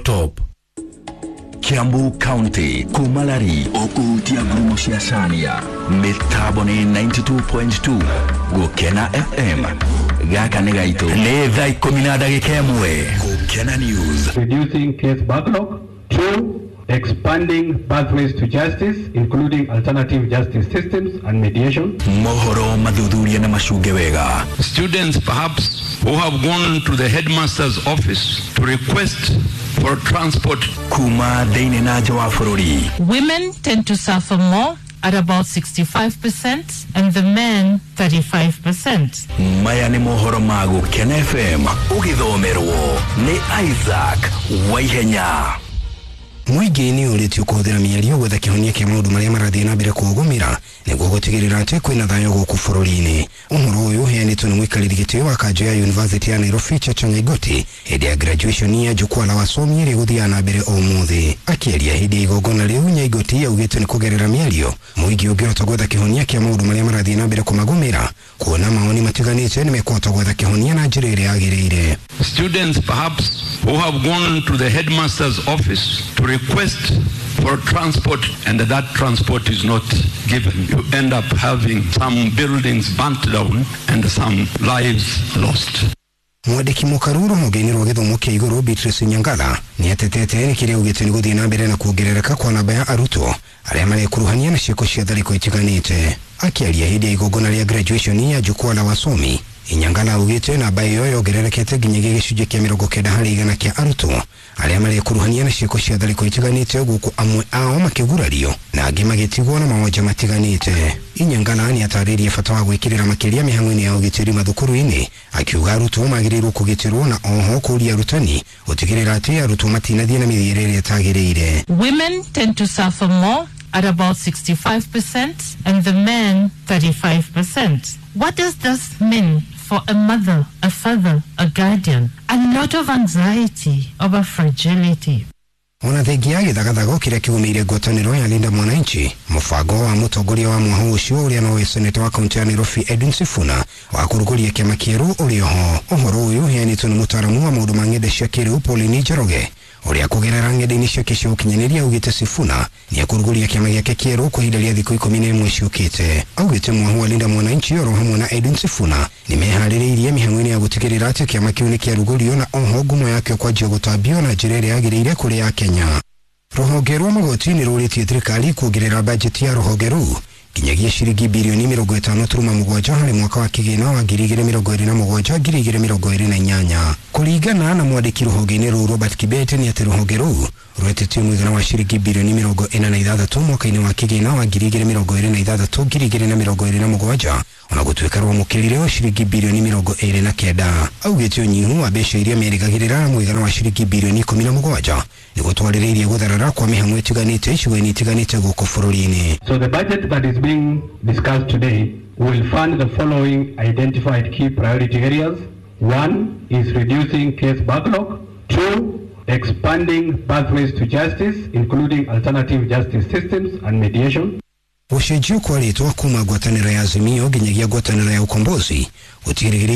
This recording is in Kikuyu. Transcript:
Top. Kiambu County kumalari ukuhutia ngurumo cia Cania mitambo ni 92.2 Gukena FM. Gaka nĩ gaitũ. Nĩ thaa 10 na ndagĩka 1. Gukena News. Reducing case backlog. 2, expanding pathways to justice, including alternative justice systems and mediation. Mohoro mathuthuria na macunge wega. Students perhaps who have gone to the headmaster's office to request for transport. Kuma thĩinĩ na nja wa bũrũri. Women tend to suffer more at about 65% and the men 35%. Maya nĩ mohoro ma Gukena FM ũgĩthomerwo nĩ Isaac Waihenya. Mũingĩ nĩ ũrĩtio kũhũthĩra mĩario gwetha kĩhonia kĩa maũndũ marĩa marathiĩ na mbere kũũgũmĩra nĩguo gũtigĩrĩra atĩ kwĩna thayũ gũkũ bũrũri-inĩ. Ũhoro ũyũ ũheanĩtwo nĩ mũikarĩri gĩtĩ wa kanjũ ya University ya Nairobi Chacha Nyaigoti hĩndĩ ya graduation ya jukwaa la wasomi ĩrĩa ĩgũthiaga na mbere ũmũthĩ. Akĩaria hĩndĩ ya igongona rĩu, Nyaigoti augĩte nĩ kũgerera mĩario mũingĩ ũngĩhota gwetha kĩhonia kĩa maũndũ marĩa marathiĩ na mbere kũmagũmĩra, kuona maoni matiganĩte nĩ mekũhota gwetha kĩhonia na njĩra ĩrĩa yagĩrĩire. Students perhaps who have gone to the headmaster's office to request for transport and that transport is not given. You end up having some buildings burnt down and some lives lost. Mwandĩki mũkaru rũhonge-inĩ rwa gĩthomo kĩa igũrũ Beatrice Nyangala nĩ atetete nĩ kĩrĩa augĩte nĩ gũthiĩ na mbere na kuongerereka kwa namba ya arutwo arĩa marekuruhania na ciĩko cia tharĩko itiganĩte. Akĩaria hĩndĩ ya igongona rĩa graduation ya jukwaa la wasomi, Inyangala augĩte namba ĩyo yongererekete nginyagia gĩcunjĩ kĩa 90% kĩa arutwo arĩa marekuruhania na ciĩko cia tharĩko itiganĩte, gũkũ amwe ao makĩgurario na angĩ magĩtigwo na mawonje matiganĩte. Inyangala nĩ atarĩirie bata wa gwĩkĩrĩra makĩria mĩhang'o-inĩ ya ũgitĩri mathukuru-inĩ, akiuga arutwo magĩrĩirwo kũgitĩrwo na oho kũũria arutani gũtigĩrĩra atĩ arutwo matinathiĩ na mĩthiĩre ĩrĩa ĩtagĩrĩire. Women tend to suffer more at about 65% and the men 35%. What does this mean for a mother, a father, a guardian? A lot of anxiety over fragility. Ona thengia gĩthagathago kĩrĩa kĩgũmĩire ngwatanĩro ya Linda Mwananchi, mũbango wa mũtongoria wa mwaho ũcio ũrĩa nowe seneta wa kaunti ya Nairobi Edwin Sifuna wa kũrugũria kĩama kĩerũ ũrĩ oho. Ũhoro ũyũ ũheanĩtwo nĩ mũtaaramu wa maũndũ ma ng'enda cia kĩrĩu Pauline Njoroge ũrĩa kũgerera ng'enda-inĩ ciake cia ũkinyanĩria augĩte Sifuna nĩ ekũrugũria kĩama gĩake kĩerũ kwa ihinda rĩa thikũ 11 ciũkĩte. Augĩte mwaho wa Linda Mwananchi oro hamwe na Edwin Sifuna nĩ meharĩrĩirie mĩhang'o-inĩ ya gũtigĩrĩra atĩ kĩama kĩu nĩ kĩarugũrio na oho ngumo yakĩo kwanjia gũtambio na njĩra ĩrĩa yagĩrĩire kũrĩ Akenya. Rũhonge rwa magoti nĩ rũrĩtie thirikari kuongerera bajeti ya rũhonge rũu nginyagia ciringi birioni 50.7 harĩ mwaka wa kĩgĩna wa 2027 2028. Kũringana na mwandĩki rũhonge-inĩ rũu Robert Kibete nĩ atĩ rũhonge rũu rwetĩtio mũigana wa ciringi birioni 46 mwaka-inĩ wa kĩgĩna wa 2026 2027 ona gũtuĩka rwamũkĩrire ciringi birioni 29. Augĩte ũnyihu wa mbeca iria merĩgagĩrĩra mũigana wa ciringi birioni 17 nĩ gũtwarĩrĩirie gũtharara kwa mĩhang'o ĩtiganĩte icigo-inĩ itiganĩte gũkũ bũrũri-inĩ. So the budget that is being discussed today will fund the following identified key priority areas. 1 is reducing case backlog. 2, expanding pathways to justice, including alternative justice systems and mediation. Gũcenjio kwa rĩtwa kuma ngwatanĩro ya Azimio nginyagia ngwatanĩro ya Ukombozi gũtigĩrĩire